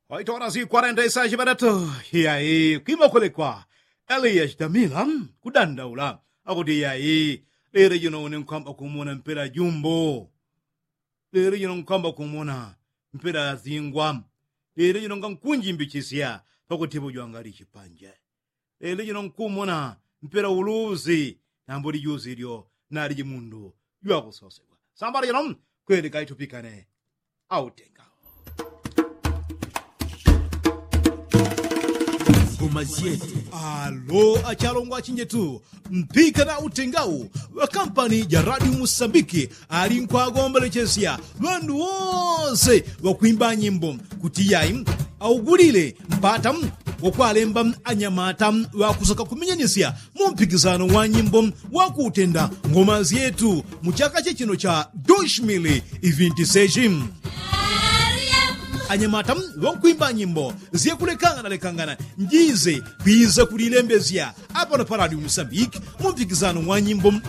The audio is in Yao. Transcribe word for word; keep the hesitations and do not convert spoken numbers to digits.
Waitola si kwarenta isashi ŵadatu. Iyayi kwima kulekwa. Eliya chitamila kudandaula akuti iyayi, lelo jino une nkwamba kumona mpela jumbo. Lelo jino nkwamba kumona mpela zingwa. Lelo jino ngankunjimbichisya pakutipo jwangali chipanje. Lelo jino nkumona mpela uluzi. Nambo lijuzi lyo naliji mundu jwakusosegwa. Sambala jino kweli kaitupikane. Autenga ngoma syetu. Alo achalongwa achinjetu, mpika na utengau wa kampani ja radio musambiki. Ali nkwagombelechesya ŵandu wose ŵakwimba nyimbo kuti yai augulile mpata wakwalemba anyamata ŵakusaka kumenyanisya mu mpikisano wa nyimbo wa kutenda ngoma syetu mu chaka chechino cha doshmili ivinti seshi. Anyamata ŵankwimba nyimbo syakulekangana lekangana njize kwiza kulilembesya apano pa radio musambiki mu mpikisano wa nyimbo